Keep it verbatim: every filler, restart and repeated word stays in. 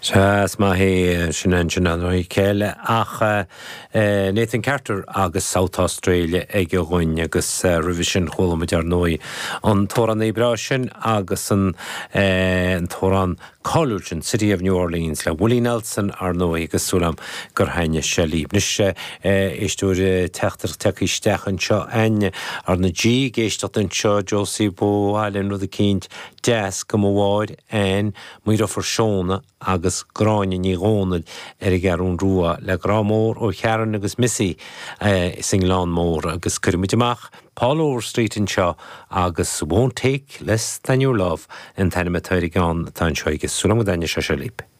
Sea is maith é sin ansin an chéile ach Nathan Carter agus South Australia ag a ghoin agus roimhe sin chuala muid ar ndóigh an t-amhrán breá sin agus an t-amhrán cáiliúil sin City of New Orleans le Willie Nelson ar ndóigh agus súil agam gur thaitin sé libh. Anois éisteoir teachtaireacht tagtha isteach anseo an ar na G ag éisteacht anseo Josie Bóháil rud eicínt deas go mhór an Muirofar Seona agus Gráinne Ní Dhomhnaill ar an gCeathrú Rua le grá mór ó Sharon agus Missy is an Gleann Mór agus cuirimid amach Paul Overstreet anseo agus won't take less than your love an t-ainm atá ar an gceann atá anseo agus súil agam go dtaitneoidh sé libh.